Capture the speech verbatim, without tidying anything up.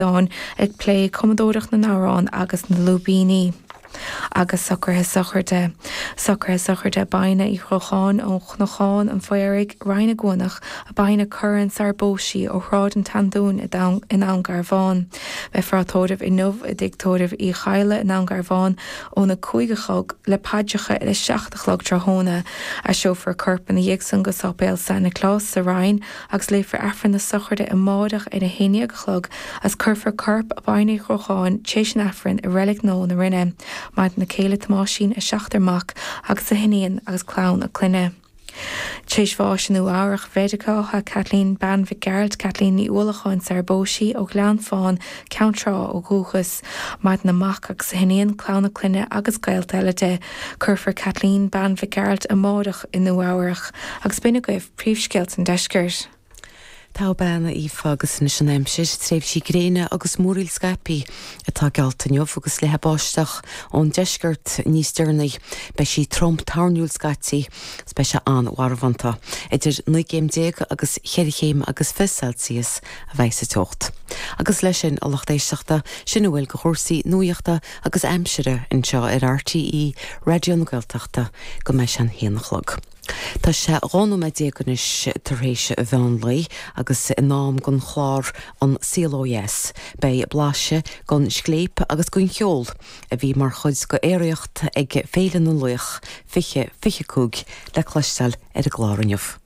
ag plé cumadóireacht na n-amhrán agus na lúibíní. Agus socruithe sochraide. Socruithe sochraide Baina Uí Chrocháin ó Chnocán an Phaoraigh, Rinn na gCuanach, a Baina Curran sar bós sí ó Shráid an tSeandúin i nDún Garbhán. Beifear á tórramh inniu i dtigh tórraimh Uí Chadhla i nDún Garbhán óna cúig a chlog le paidreacha ar a seacht a chlog tráthnóna. Aistreofar a corp ina dhiaidh san go Sáipéal San Nioclás sa Rinn agus léifear Aifreann na sochraide amárach ar a haon déag a chlog agus cuirfear corp Baina Uí Chrocháin tar éis an Aifrinn i Reilig Nua na Rinne. Maireann a céile Tomáisín, a seachtar mac agus a hiníon agus clann a clainne. Tar éis bháis i Nua Eabhrac Mheiriceá Kathleen bean Mhic Gearailt Kathleen Ní Uallacháin sar bós sí ó Ghleann Fáin Ceann Trá ó dhúchas, Maireann a mac agus a hiníon clann a clainne agus gaolta eile di. Cuirfear Kathleen bean Mhic Gearailt amárach i Nua Eabhrac agus b'in agaibh príomhscéalta an deiscirt. Tá bean Aoife agus anois an aimsir tréimhsí gréine agus múraíl scaipthe atá geallta inniu agus le báisteach ón deisceart níos deireanaí. Beidh sí trom toirniúil scaití, beidh sé an-mharbhánta. Idir naoi gcéim déag agus cheithre chéim agus fiche Celsius a bheidh sa teocht. Agus leis sin a lucht éisteachta sin a bhfuil de chúrsaí nuachta agus aimsire anseo ar RTÉ Raidió na Gaeltachta go mbeidh sé an haon a chlog. Tá sé dhá nóiméad déag anois tar éis mheán lae agus in am don chlár An Saol Ó Dheas. Beidh blaiseadh den scléip agus den cheol a bhí mar chuid d'aeraíocht ag Féile na Laoch fiche fiche cúig le cloisteáil ar an gclár inniu.